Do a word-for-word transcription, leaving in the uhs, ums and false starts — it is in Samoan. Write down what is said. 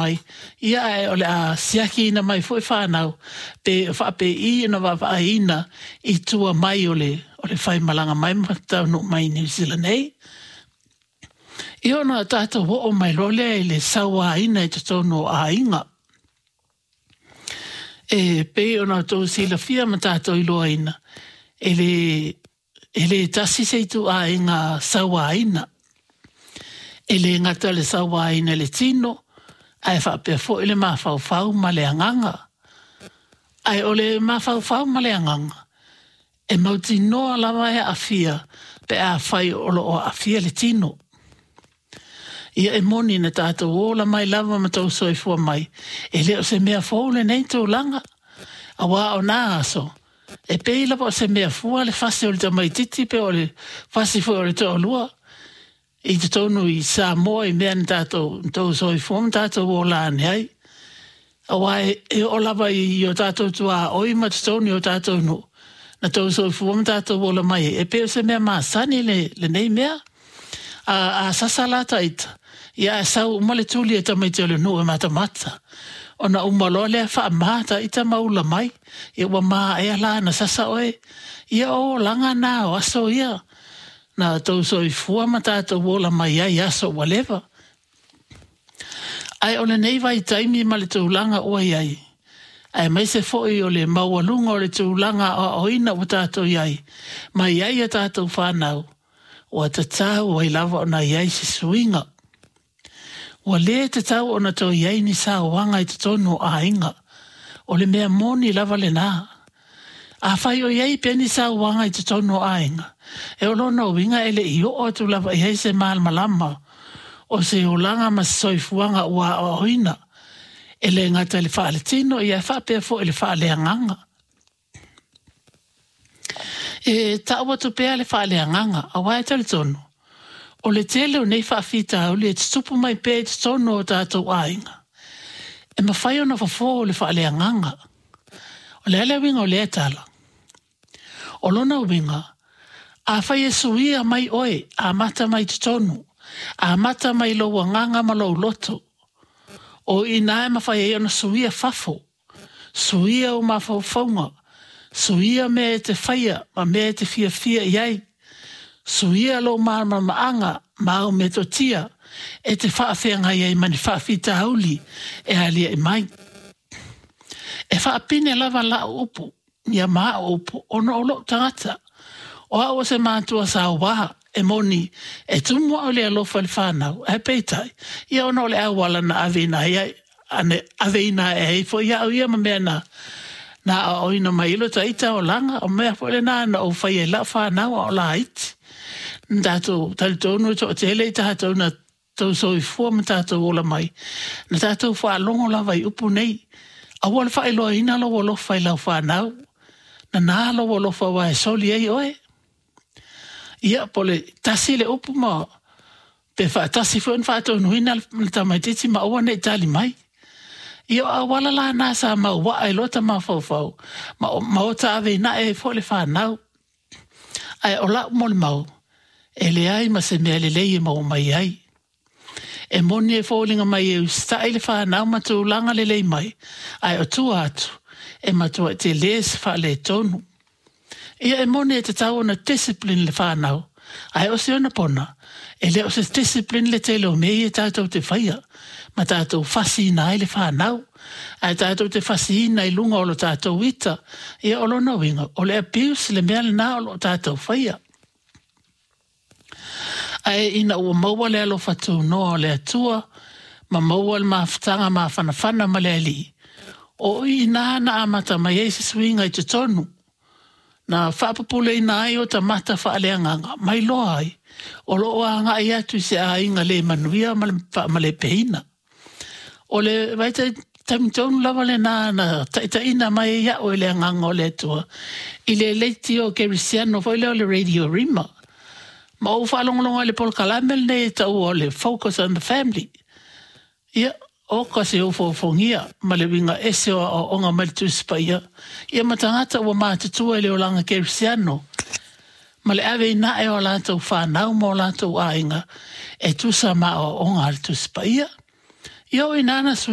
mai, ia ae o le a siakiina mai foi fanau pe faapei ona vaavaaiina i tua mai o le o le faimalaga mai ma taunuu mai i Niu Sila nei. Ia ona tatou oo mai loa lea i le sauaina i totonu o aiga. E pei ona outou silafia ma tatou iloaina, e le e le tasi se ituaiga sauaina. E le gata i le sauaina i le tino, ae faapea foi le mafaufau ma le agaga. Ae o le mafaufau ma le agaga, e mautinoa lava e aafia pe afai o lo o aafia le tino. Ia e moni na tatou ola mai lava ma tou soifua mai, e le o se mea fou lenei tulaga, aua o na aso, e pei lava o se mea fua le fasi o le tamaitiiti pe o le fasi foi o le toalua i totonu i Samoa i mea na tatou na tou soifua ma tatou ola ane ai. Aua e, e oo lava i o tatou tuaoi ma totonu i o tatou nuu, na tou soifua ma tatou ola mai ai, e pei o se mea masani le, lenei mea. A, a sasa la taita, ia ae sau uma le tuli a tamaiti o le nuu e matamata. Ona uma loa lea faama taita ma ula mai, ia ua maea la ona sasa oe. Ia o olaga na o aso ia, na tou soifua ma tatou ola mai ai i aso ua leva. Ae o lenei vaitaimi ma le tulaga ua i ai, aemaise foi o le maualuga o le tulaga aoaoina ua tatou i ai, ma i ai a tatou fanau, ua tatau ai lava ona i ai se suiga. Ua le tatau ona toe i ai ni sauaga i totonu o aiga. O le mea moni lava lena. Afai o i ai pea ni sauaga i totonu o aiga, e o lona uiga e le i oo atu lava i ai se malamalama o se olaga ma se soifuaga ua aoaoina, e le gata i le faaletino, ia e faapea foi i le faaleagaga. E tau atu pea le faaleagaga, aua e talitonu, o le tele o nei faafitauli e tutupu mai pea i totonu o tatou aiga, e mafai ona fofo e le faaleagaga. O le a le uiga o lea tala? O lona uiga, afai e suia mai oe, amata mai totonu, amata mai lou agaga ma lou loto, o i inā e mafai ai ona suia fafo, suia ou mafaufauga, suia mea e te faia ma mea e te fiafia i ai, suia lou malamalamaaga ma au metotia e te faafeagai ai ma ni faafitauli e aliae mai. E faapine lava lau upu, ia ma au upu, ona o lou tagata. O au o se matua sauā, e moni, e tumu au i le alofa i le fanau, ae peitai, ia ona o le auala na aveina ai ai, ane, aveina ae ai foi au ia ma mea na na aoaoina mai ai lo taita olaga, o mea foi lena na ou faia i lau fanau a o laiti. Na tatou talitonu e toatele i tatou na tou soifua ma tatou ola mai, na tatou faalogo lava i upu nei, aua le faailoaina lou alofa i lau fanau, nana lou alofa aua e soli ai oe. Ia, po o le tasi le upu ma pe faatasi foi ona faatonuina le tamaitiiti ma aua ne i tali mai. Ia o auala la na sa mauaa i lota mafaufau ma, ma ota aveinae ai foi le fanau. Ae o lau molimau, e leai ma se mea lelei e maua mai ai. E moni e foliga mai e usitai le fanau ma tulaga lelei mai, ae o tua atu, e matuai tele se faaletonu. Ia e moni e tatau ona discipline le fanau, ae o se ona pona, e le o se discipline le tele o mea ia tatou te faia, ma tatou fasiina ai le fanau, ae tatou te fasiina i luga o lo tatou ita, ia o lona uiga, o le abuse le mea lena o lo o tatou faia. Ae ina ua maua le alofa tunoa o le Atua, ma maua le mafutaga mafanafana ma le Alii, o i ina na amata mai ai se suiga i totonu, na faapupuleina ai o tamata faaleagaga, ma iloa ai, o lo o agai atu i se aiga le manuia ma le faamalepeina. O le vaitaimi tonu lava lena na taitaiina mai ai au e le agaga o le Atua i le leitio kerisiano foi lea o le Radio Rima. Ma ou faalogologo i le polokalame lenei e taua o le Focus on the Family. Ia, oka se ofoofogia ma le uiga ese o aoaoga mai le Tusi Paia, ia ma tagata ua matutua i le olaga kerisiano, ma le aveinae o a latou fanau ma o latou aiga e tusa ma aoaoga a le Tusi Paia. Ia o i ina na